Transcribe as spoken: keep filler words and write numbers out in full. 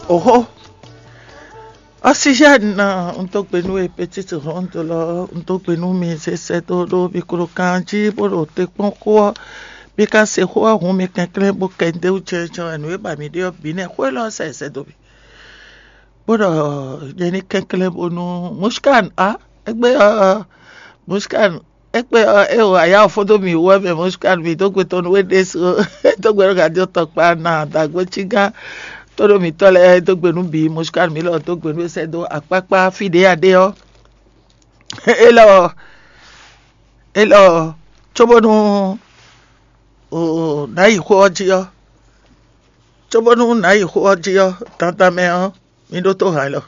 Oxó, Oxygène ná, un dó gbe nú we, petite ronde lɔ, un dó gbe nú mi sɛsɛ dó ɖó mi klo kan jí bó ɖo te kpɔ́n xó ɔ́. Mi ka se xó ɔ́ hun mi kɛnklɛ́n bó kɛ ndéwú cɛncɛn wɛ nǔ e ba mi ɖe ɔ́ bǐ nɛ́ xó élɔ́ sɛ sɛ dó mi. Bó ɖɔ nyɛ ní kɛnklɛ́n bónú Mushkan a égbé ɔ́ Mushkan égbé ɔ́ é o aya ɔ́ fó dó mi wú wɛ mɛ Mushkan mi dó gbe tɔn nú we ɖésú é dó gbe nú gǎdí tɔn kpa na dǎgbó cí gán tó ɖo mǐtɔn lɛ́ɛ é dó gbe nú bǐ Mushkan mi lɔ dó gbe nú é sɛ́ dó akpákpá fí ɖě a ɖe ɔ́. Élɔ́ élɔ́ cóbónú nǎ yi xó ɔ́ jí ɔ́ cóbónú nǎ yi xó ɔ́ jí ɔ́ dandan mɛ ɔ́ mi ɖótó hǎn lɔ.